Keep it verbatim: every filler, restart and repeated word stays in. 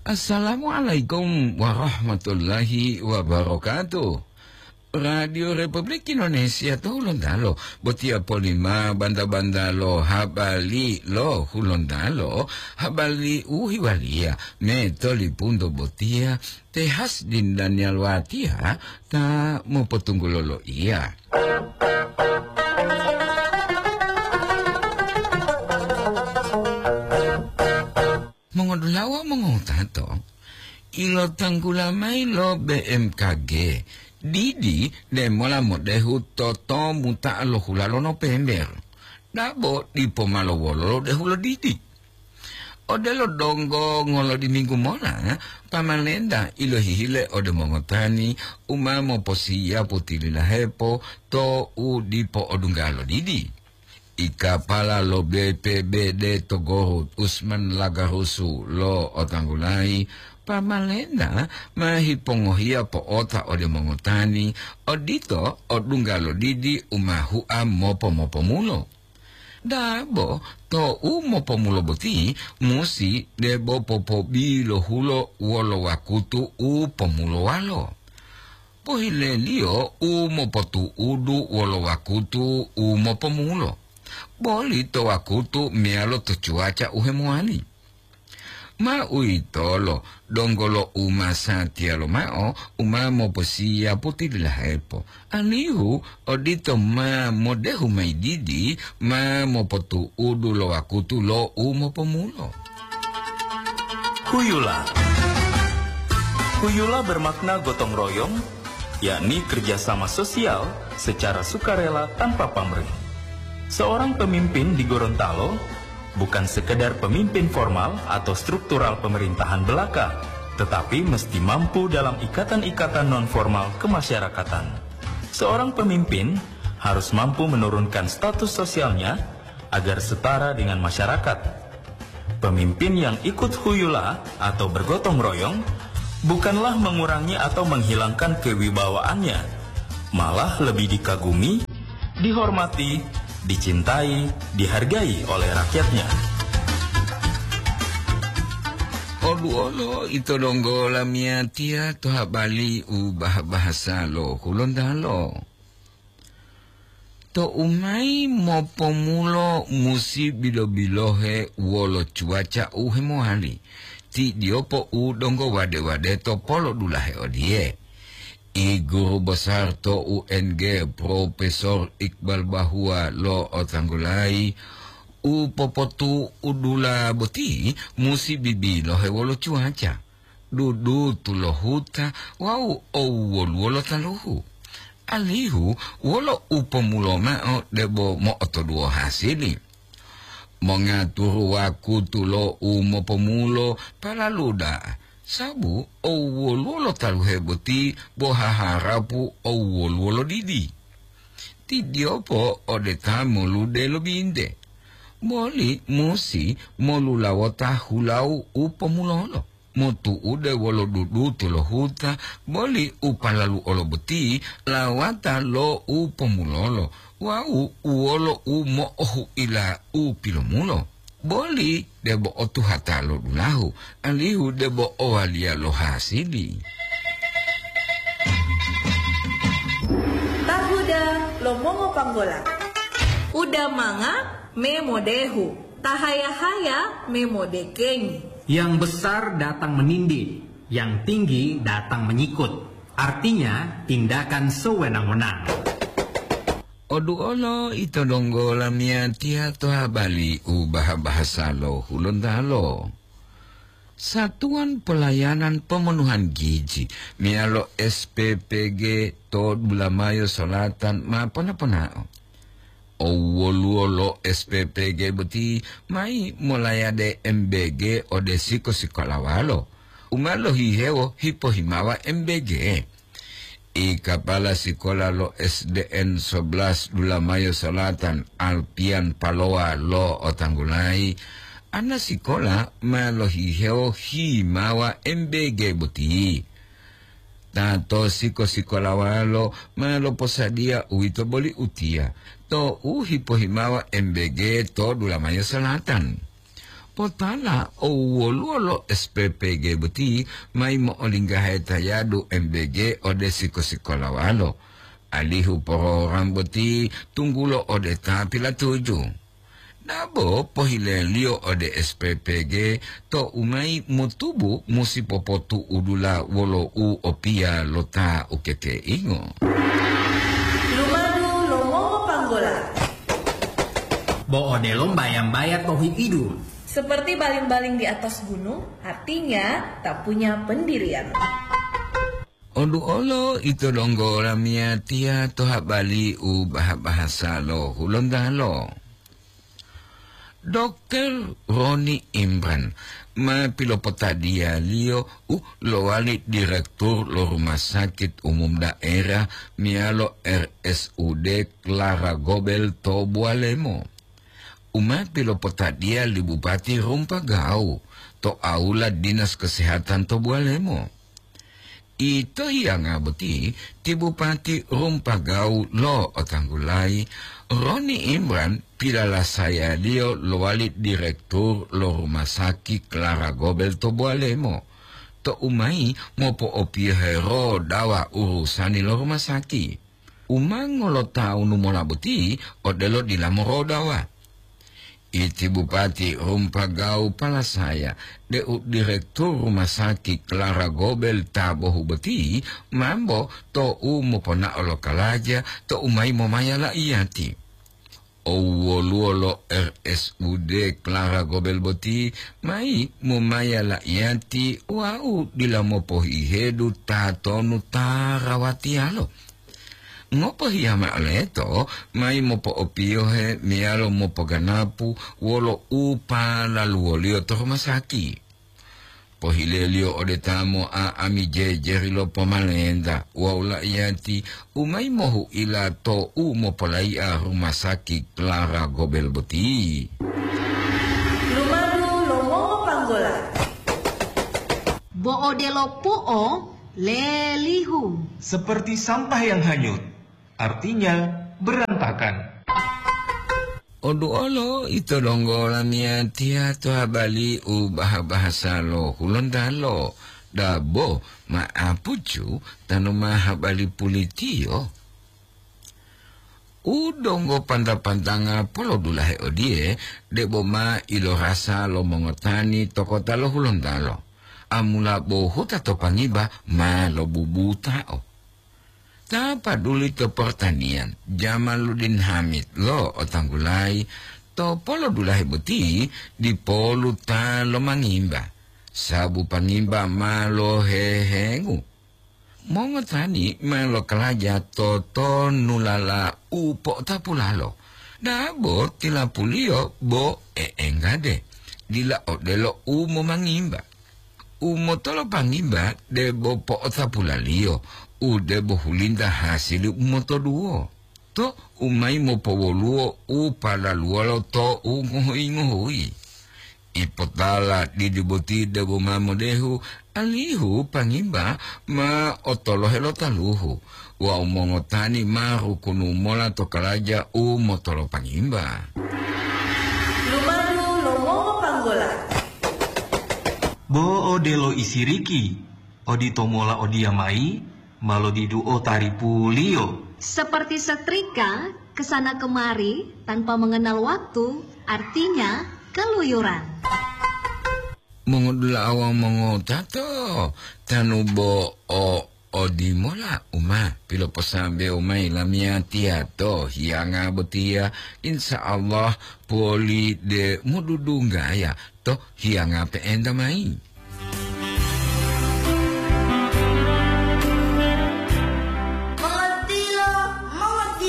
Assalamualaikum warahmatullahi wabarakatuh. Radio Republik Indonesia to Hulontalo, botiya polima banta-banta lo habari lo Hulontalo, habari u hiwaliya me tolipunto botiya, te Hasdin Daniel Watiya ta mopotunggulo loiya. Mongodulawa mongowutato, ilotanggula mayi lo B M K G, didi demola modehu to tomuta'a lo hula lo Nopember, dabo dipo ma lowolo lo dehu lo didi. Odelo donggo ngolodiminggu mola, pamalenta ilohihile ode mongotani u ma moposiyapu tililahepo to u dipo odungga lo didi. Ikapala lo B P B D to Gorut, Usman Lagarusu lo otanggulayi, pamalenta ma hipongohiya po'ota ode mongotani, odito odungga lo didi u ma hua mopo-mopomulo. Dabo to u mopomulo boti musi debo popobilohulo wolo wakutu u pomulowalo. Pohileliyo u mopotu'udu wolo wakutu u mopomulo, boli to wakutu meyalo to cuaca u hemowali. Ma uwitolo donggo lo u masatiya lomao u ma moposiyapu tililahepo, alihu odito ma modehu mayi didi ma mopotu'udu lo wakutu lo u mopomulo. Huyula. Huyula bermakna gotong royong, yakni kerjasama sosial secara sukarela tanpa pamrih. Seorang pemimpin di Gorontalo bukan sekedar pemimpin formal atau struktural pemerintahan belaka, tetapi mesti mampu dalam ikatan-ikatan non-formal kemasyarakatan. Seorang pemimpin harus mampu menurunkan status sosialnya agar setara dengan masyarakat. Pemimpin yang ikut huyula atau bergotong royong bukanlah mengurangi atau menghilangkan kewibawaannya, malah lebih dikagumi, dihormati, dicintai, dihargai oleh rakyatnya. Oluwolo ito donggo lamiyatiya to habari u bah-bahasa lo Hulontalo. To u mayi mopomulo musi bilo-bilohe wolo cuaca u hemowali, ti diyopo u donggo wade-wade to polodulahe odiye. I guru besar to U N G, Profesor Iqbal Bahua lo otanggulayi, u popotu'udula boti musi bibilohe wolo cuaca, dudutu lo huta wawu owwoluwo lo taluhu, alihu wolo u pomulo mao debo mo'otoduwo hasili. Mongaturu wakutu lo u mopomulo palalu da'a, sabu owwoluwo lo taluhe boti bo haharapu owwoluwo lo didi. Ti diyopo ode ta molude lo binte, boli musi molulawota hulau u pomulolo, motu'ude wolo dudutu lo huta, boli u palalu olo boti lawata lo u pomulolo wawu wolo u mo'ohu'ila u pilomulo, boli debo otuhata lo dulahu, alihu debo owaliya lo hasili. Tahuda lo mongopanggola. Uda manga me modehu, tahaya-haya me modekengi. Yang besar datang menindih, yang tinggi datang menyikut. Artinya, tindakan sewenang-wenang. Oduolo ito donggo lamiyatiya to habari u baha-bahasa lo Hulontalo. Satuan Pelayanan Pemenuhan Gizi meyalo S P P G to Dulamayo Solatan ma pona-ponao. Owwoluwo lo S P P G boti mayi molayade M B G ode siko-sikolawalo u ma lohihewo hipohimawa M B G. I kapala sikola lo S D N sebelas Dulamayo Selatan, Alpian Palowa lo otanggulayi, ana sikola ma lohihewo himawa M B G boti. Ta to siko-sikolawalo ma loposadiya uwito boli utiya to u hipohimawa M B G to Dulamayo Selatan. Potala o woluwo lo S P P G boti mayi mo'olinggahe tayadu M B G ode siko-sikolawalo, alihu program boti tunggulo ode ta pilatuju. Dabo pohileliyo ode S P P G to umayi motubu musi popotu'udula wolo u opiya lo ta ukekeingo. Lumadu lo mongopanggola. Bo odelo mbaya-mbaya to hi'idu. Seperti baling-baling di atas gunung, artinya tak punya pendirian. Oduolo ito donggo lamiyatiya to habali u baha-bahasa lo Hulontalo. Dokter Roni Imran ma pilopotadiyaliyo u lowali direktur lo Rumah Sakit Umum Daerah meyalo R S U D Clara Gobel to Bualemo. U ma pilopotadiya li Bupati Rumpagau to aula Dinas Kesehatan to Bualemo. Ito hiyanga boti ti Bupati Rumpagau lo otanggulayi, Roni Imran pilalasayaliyo lowali direktur lo Rumah Sakit Clara Gobel to Bualemo, to umayi mopo'opiyohe rodawa urusani lo rumah sakit. U ma ngolotawunu mola boti odelo dila morodawa. Iti Bupati Rumpagau palasaya deu direktur Rumah Sakit Clara Gobel ta bohu boti mambo to'u moponao lo kalaja to'u mayi momaya la'iyati. O woluwo lo R S U D Clara Gobel boti mayi momaya la'iyati wawu dila mopohihedu tatonu ta rawatiyalo. Ngopohiya mao leto mayi mopo'opiyohe meyalo mopoganapu wolo u palaluwoliyo to rumah sakit. Pohileliyo ode ta mo'a'ami jejeri lo pomalenta wawu la'iyati u mayi mohu'ila to'u mopolai'a rumah sakit Clara Gobel boti. Lumadu lo mongopanggola. Bo odelo po'o lelihu. Seperti sampah yang hanyut, artinya berantakan. Oduolo ito donggo lamiyatiya to habali u baha-bahasa lo Hulontalo, dabo ma'apucu tanu ma habali pulitiyo. U donggo panta-pantanga polodulahe odiye, debo ma ilorasa lo mongotani to kota lo Hulontalo. Amula bo huta to Pangiba ma lobubutao. Ta paduli to pertanian, Jamaluddin Hamid lo otanggulayi, to polodulahe boti dipolu ta lomangimba, sabu Pangiba ma lohehengu. Mongotani ma lokalaja to tonulala u po'otapulalo, dabo tilapuliyo bo e'engade, dila odelo u momangimba. U motolopangimba debo po'otapulaliyo, u debo hulinta hasili u motoduwo, to u mayi mopowoluwo u palaluwolo to u ngohuyi-ngohuyi. Ipotala didi boti debo ma modehu, alihu Pangiba ma otolohe lo taluhu wawu mongotani ma rukunu mola to kalaja u motolopangimba. Lumadu lo mongopanggola. Bo odelo isiriki, odito mola odiyamayi ma lodiduo taripuliyo. Seperti setrika, ke sana kemari tanpa mengenal waktu, artinya keluyuran. Mongodula'a wawu mongotato, tanu bo o odimola u ma piloposambewo mayi lamiyatiya to hiyanga botiya, insya Allah poli de modudunggaya to hiyanga pe'enta mayi.